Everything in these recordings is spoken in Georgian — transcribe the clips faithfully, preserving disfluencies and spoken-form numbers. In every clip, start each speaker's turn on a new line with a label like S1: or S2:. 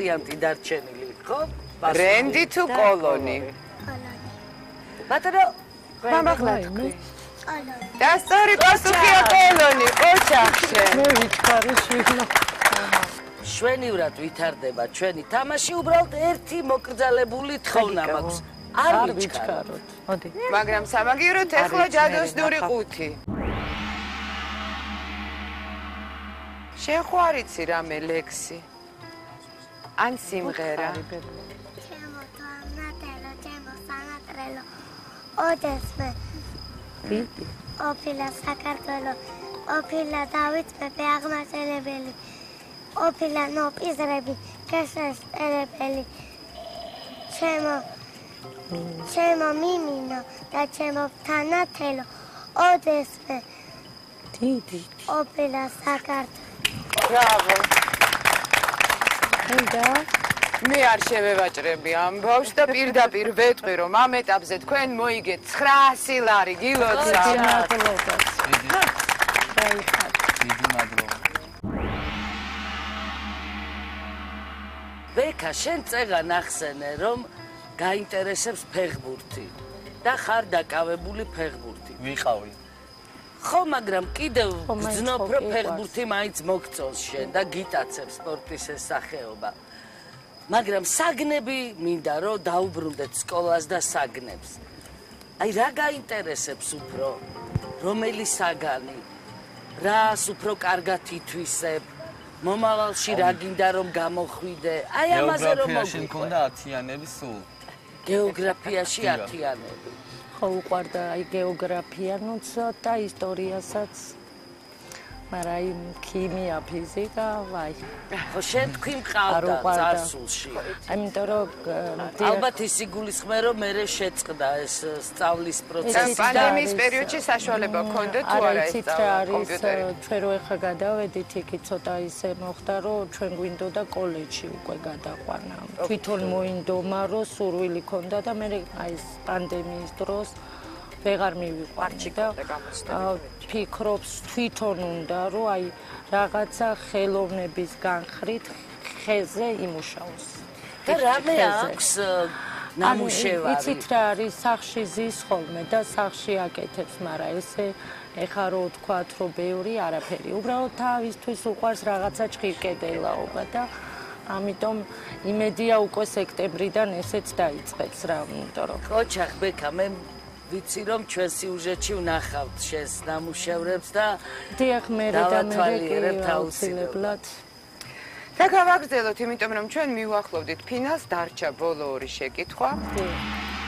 S1: ვარიანტი დარჩენილი, ხო?
S2: ბრენდი თუ კოლონი?
S1: ბატონო,
S2: მამახლა თქვი. და სწორი პასუხია კოლონი, ოჩახშე.
S3: მე ვიჩქარი შვილო.
S1: შვენივრად ვითარდება ჩვენი თამაში, უბრალოდ ერთი მოკრძალებული თხოვნა მაქვს. არ ვიჩქაროთ.
S3: მოდი.
S2: მაგრამ სამაგიეროდ ეხლა ჯადოსნური ყუთი. შენ ხო არ იცი რამე ლექსი? ან სიმღერა?
S4: ჩემო თანატელო, ჩემო სანატრელო. ოდესმე.
S3: ვიდი.
S4: ოფილა საქართველო, ოფილა დავით მეფე აღმაშენებელი. ოფილა ნოპიზრები, გასასწრებელი. ჩემო ჩემო მიმინო და ჩემო თანათელო, ოდესმე.
S3: დიდი.
S4: ოფილა საქართველო.
S2: ბრავო.
S3: და
S2: მე არ შევევაჭრები ამ ბავშვს და პირდაპირ ვეტყვი რომ ამ ეტაპზე თქვენ მოიგეთ ცხრაასი ლარი გილოცა.
S3: მადლობა.
S5: დიდი მადლობა.
S1: ბექა, შენ წეგან ახსენე, რომ გაინტერესებს ფეხბურთი და ხარ დაკავებული ფეხბურთი.
S5: ვიყავი.
S1: ხო, მაგრამ კიდევ გძნობ, რომ ფეხბურთი მაინც მოგწონს შენ და გიტაცებს სპორტის ეს სახეობა. მაგრამ საგნები მინდა რომ დაუბრუნდეთ სკოლას და საგნებს. აი რა გაინტერესებს უფრო? რომელი საგანი? რას უფრო კარგად ითვისებ? მომავალში რა გინდა რომ გამოხვიდე? აი ამაზე რომ
S5: გეოგრაფიაში
S1: მოგვიყვე.
S5: მქონდა ათიანები სულ.
S1: გეოგრაფიაში ათიანები.
S3: ხო უყვარდა აი გეოგრაფია ნუცა და ისტორიასაც. მაგრამ აი ქიმია, ფიზიკა, ვაი.
S1: ხო შენ თქვი მყავდა წარსულში.
S3: ამიტომ რომ
S1: ალბათ ის იგულისხმე რომ მე შეწყდა ეს სწავლის პროცესი.
S2: პანდემიის პერიოდში საშუალება გქონდა თუ არა ეს კომპიუტერი?
S3: ჩვენ რო ეხა გადავედით იქი ცოტა ისე მოხდა რომ ჩვენ გვინდოდა კოლეჯში უკვე გადაყვანა. თვითონ მოინდომა რომ სურვილი ქონდა და მე აი ეს პანდემიის დროს ვეღარ მივიყვანე და ფიქრობს თვითონ უნდა რომ აი რაღაცა ხელოვნების განხრით ხეზე იმუშაოს.
S1: და რამე აქვს ნამუშევარი.
S3: იცით რა არის სახში ზის ხოლმე და სახში აკეთებს, მაგრამ ესე ეხა რო ვთქვათ რომ ბევრი არაფერი. უბრალოდ თავისთვის უყვარს რაღაცა ჭირკედელაობა და ამიტომ იმედია უკვე სექტემბრიდან ესეც დაიწყებს რა, იმიტომ რომ
S1: ოჩახ ბექა მე ვიცი რომ ჩვენ სიუჟეტში ვნახავთ შენს ნამუშევრებს და
S3: დიახ მე და მე აუცილებლად
S2: და გავაგრძელოთ, იმიტომ რომ ჩვენ მივახლოვდით ფინალს, დარჩა ბოლო ორი შეკითხვა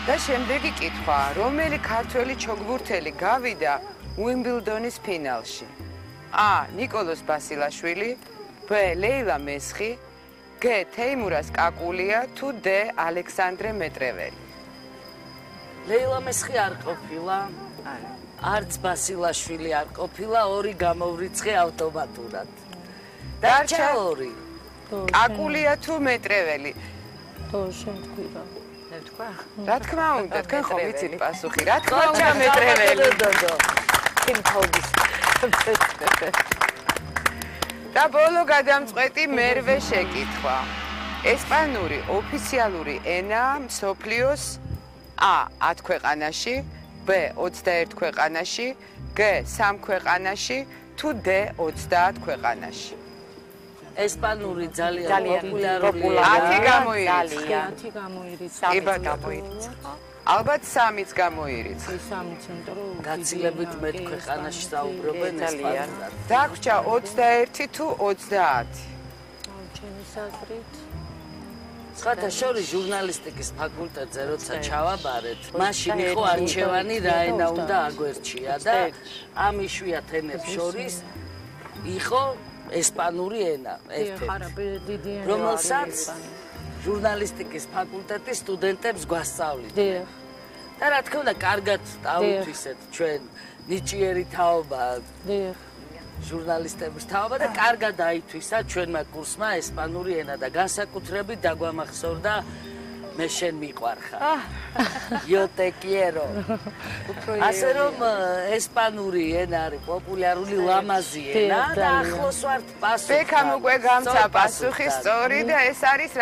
S2: და შემდეგი კითხვა, რომელი ქართველი ჩოგბურთელი გავიდა უიმბლდონის ფინალში? A. ნიკოლოზ ბასილაშვილი, B. ლეილა მესხი, G. თეიმურაზ კაკულია თუ D. ალექსანდრე მეტრეველი?
S1: ლეილა მესხი არ ყოფილა, არც ბასილაშვილი არ ყოფილა, ორი გამოვრიცხე ავტომატურად. დარჩა ორი. კაკულია თუ მეტრეველი?
S3: თო შენ თქვი რა.
S2: მე ვთქვა? რა თქმა უნდა, თქვენ ხო ვიცით პასუხი, რა თქმა უნდა მეტრეველი.
S3: კინთობის.
S2: და ბოლო გადამწყვეტი მერვე შეკითხვა. ესპანური ოფიციალური ენაა მსოფლიოს A. ათ ქვეყანაში, B. ოცდაერთ ქვეყანაში, G. სამ ქვეყანაში თუ D. ოცდაათ ქვეყანაში.
S1: ესპანური ძალიან პოპულარულია.
S2: ათი გამოირიცხა.
S3: ათი გამოირიცხა.
S2: ება გამოირიცხა. ალბათ სამიც გამოირიცხა.
S3: სამიც, იმიტომ რომ
S1: გაცილებით მეტ ქვეყანაში საუბრობენ ესპანურად.
S2: დაგვრჩა ოცდაერთი თუ ოცდაათი?
S3: ჩემი საზრით
S1: სხვათა შორის ჟურნალისტიკის ფაკულტეტზე როცა ჩავაბარეთ, მაშინ იყო არჩევანი რა ენა უნდა აგვერჩია და ამ იშვიათ ენებს შორის იყო ესპანური ენა ერთ-ერთი, რომელსაც ჟურნალისტიკის ფაკულტეტის სტუდენტებს გვასწავლიდა. და რა თქმა უნდა, კარგად დავითვისეთ ჩვენ ნიჭიერი თაობა. ჟურნალისტების თაობა და კარგად დაითვისა ჩვენმა კურსმა ესპანური ენა და განსაკუთრებით დაგვამახსოვრდა მე შენ მიყვარხარ. Yo te quiero. ასე რომ ესპანური ენა არის პოპულარული ლამაზი ენა და ახლოს ვართ პასუხს.
S2: ბექამ უკვე გამცა პასუხი სწორი და ეს არის